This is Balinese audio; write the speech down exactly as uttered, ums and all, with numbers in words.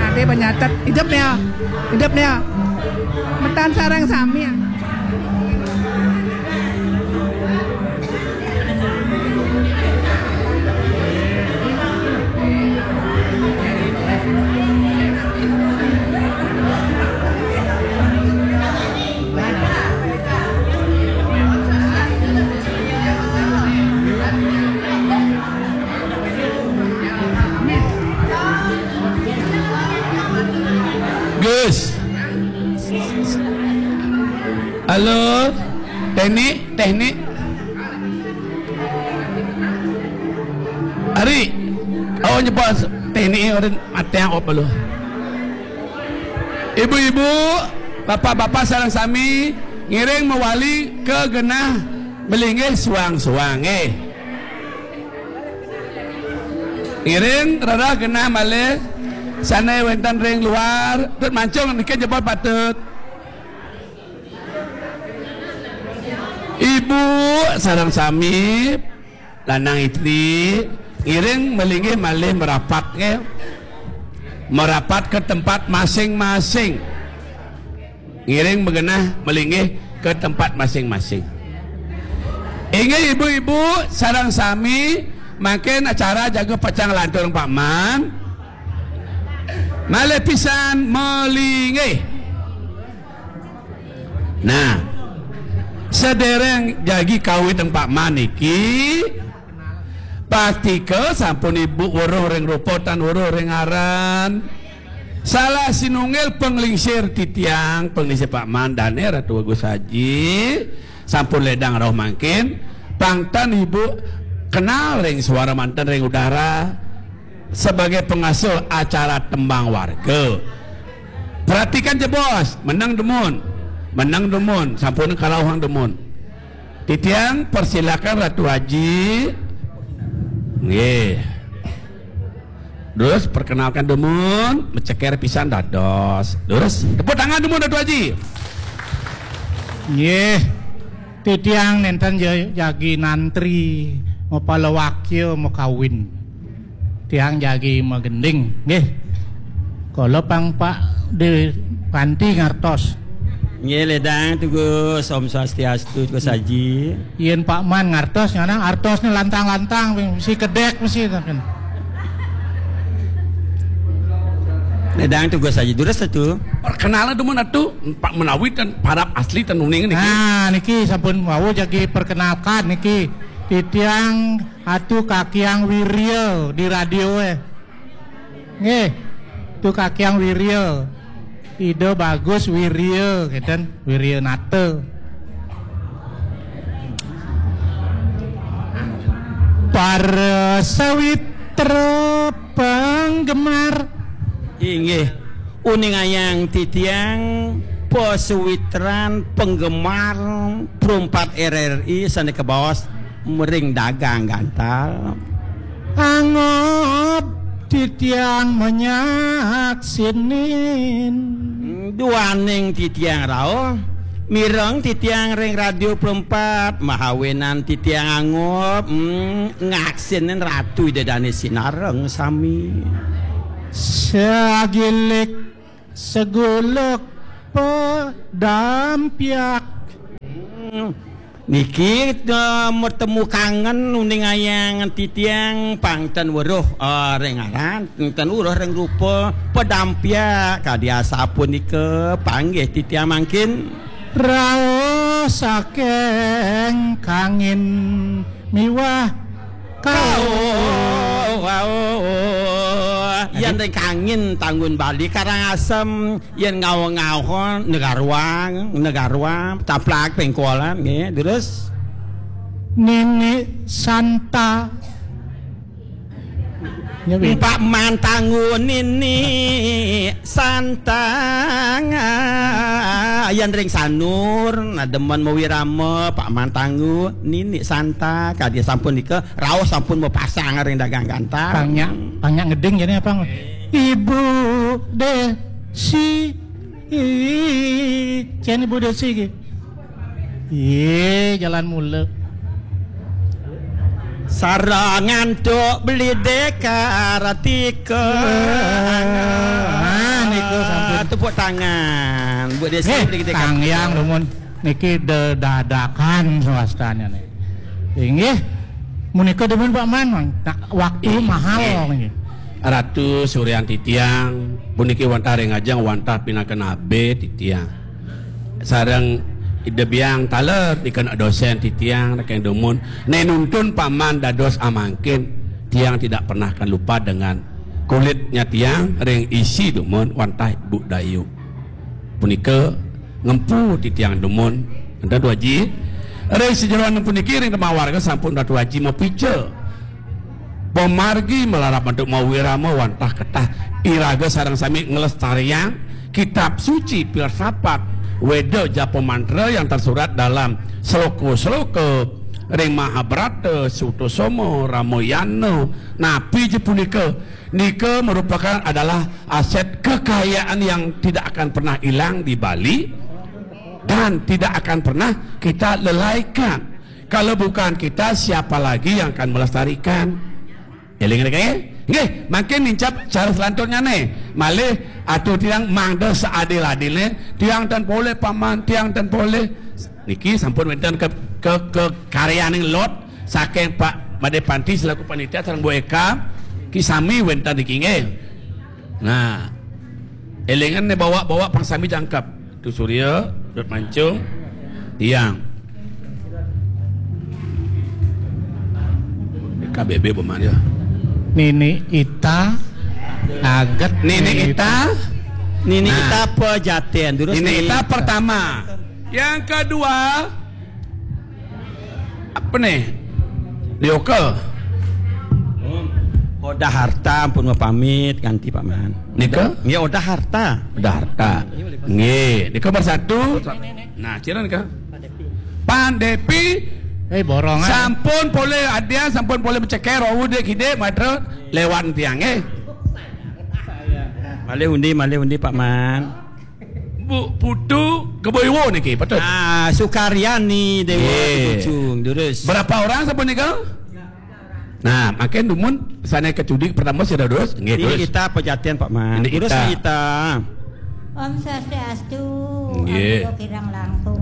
Ade banyatet. Hidup nih ya. Hidup nih ya. Metan sareng sami ya. Gus. Halo. Teknik, teknik. Ari. Oh, nyepas teknik orang mati yang op lu. Ibu-ibu, bapak-bapak sareng sami ngiring mawali ka genah malinggih suang-suang nggih. Ngiring rereh genah malih sané wénten ring luar, tut mancung niki jebos patut. Ibu sareng sami, lanang istri, ngiring malinggih malih merapat nggih. Merapat ke tempat masing-masing. Ngiring magenah malinggih ke tempat masing-masing. Inggih ibu-ibu sareng sami, mangkin acara jaga pacang lantur Pak Man. Malih pisan malinggih. Nah, sedereng jagi kawit Pak Man niki, pastika sampun ibu weruh ring rupa tan weruh ring aran. Salah sinunggil panglingsir titiang, panglingsir Pak Man dané Ratu Agus Haji, sampun ledang rauh mangkin, pang tan ibu kenal ring suara manten ring udara sebagai pengasuh acara tembang warga. Perhatikan jebos, meneng dumun. Meneng dumun, sampun karauhang dumun. Titiang persilakan Ratu Haji. Nggih. Terus perkenalkan dumun, meceker pisan dados. Terus tepuk tangan dumun Ratu Haji. Nggih. Titiang nénten ja-, jagi nantri mapalawakya makawin. Tiang jagi magending, nggih. Kala pang Pak Dé Panti ngartos. Nggih, ledang tugas Om Swastiastu, tugas Aji. Yén Pak Man ngartos, nyana artosné lantang-lantang, mesti kedék, mesti. Ledang tugas Aji, durus atu. Perkenalan dumun atu, Pak menawi tan parab asli tan uning niki. Nah, niki sampun wau jagi perkenalkan niki. Titiang Atu Kakiang Wirya di radio, eh. Nggih. Atu Kakiang Wirya. Ida Bagus Wirya, ngeten, Wirya Nata. Para sawitra penggemar. Inggih. Uningayang titiang pasawitran penggemar Pro empat R R I sané kabaos mering dagang gantal. Angob titiang manyaksinin. Duaning titiang rauh, mireng titiang ring Radio Pro empat, mahawinan titiang angob, hmm, ngaksinin Ratu Ida Dané sinareng sami. Sagilik seguluk pedampiak. Hmm. Niki, eh, mertemu kangen uningayang titiang pang ten weruh, eh, ring aran, ten weruh ring rupa pedampiak kadi asapunika panggih titiang mangkin. Rauh saking kangin miwah kau. Kau, kau. Yan ring kangin Tanggun Bali Karangasem. Yén ngawang-ngawang, Negaruang, Negaruang, Taplak, Pengkolan, nggih, terus Nini Santa. Ya, Pak Mantanggu Nini Santa. Yén ring Sanur, nah, demen mawirama, Pak Mantanggu Nini Santa, kadi sampun nika, rauh sampun mapasang ring dagang gantal. Pangnya, pangnya ngeding jani apa? Ibu Desi. Ih, cén Ibu Desi ki. Ih, jalan mula. Tara ngantuk beli deka ratika. Ah, niku sampun. Tepuk tangan. Buat dia. Nggih, sendiri kita. Kang Yang Dumun niki dedadakan swastanya nih. Inggih. Menika dumun Pak Man, nah, waktu mahal niki. Ratu Suryan titiang, puniki wantah ring ajeng wantah pinaka nabe titiang. Sareng Ida Biang taler nika dosen titiang, ring dumun. Nek nuntun Paman dados amangkin, tiang tidak pernah akan lupa dengan kulitnya tiang ring isi dumun wantah Bu Dayu. Punika ngempu titiang dumun. Enten Ratu Aji. Ring sajeroning puniki ring tembang warga sampun Ratu Aji mapica. Pamargi malarap antuk mawirama wantah ketah iraga sareng sami nglestariang kitab suci filsafat Weda japa mantra yang tersurat dalam sloka-sloka ring Mahabharata, Sutasoma, Ramayana. Napi ja punika? Nika merupakan adalah aset kekayaan yang tidak akan pernah hilang di Bali dan tidak akan pernah kita lelaikan. Kalau bukan kita, siapa lagi yang akan melestarikan? Eling nggih? Nggih, mangkin nincap cara selanjutnya nih. Malih atur tiang mangda seadil-adilnya, tiang ten polih Paman, tiang ten polih. Niki sampun wenten ke ke ke karyaning lot saking Pak Made Panti selaku panitia sareng Bu Eka, ki sami wenten niki nggih. Nah, elingan nih bawa-bawa pang sami jangkep. Tu Surya, Dut Mancung, tiang. K B B Bomania. Nini Ita, aget Nini Ita. Nini Nah. Ita pejaten, terus Nini Nini Ita Ita. Pertama. Yang kedua, apa nih? Dioka. Oda Harta ampun mapamit ganti Pak Man. Nika? Nggih, Oda Harta. Oda Harta. Nggih, nika bersatu. Nah, cira nika. Pan Depi. Eh, borongan. Sampun polih adian, sampun polih menceker, wau dek hidek, matra lewat tiang, eh. Malih undi, malih undi Pak Man. Bu Putu Keboiwo niki, patut. Ah, Sukaryani Dewa Nggih. Di Pucung, durus. Berapa orang sampun nika? Nah, makin dumun sana ke cudik pertama sudah durus. Nggih, Ini durus. Kita pejatian Pak Man. Ini Durus kita. Kita. Om Swastiastu. Nggih. Ampura kirang langkung.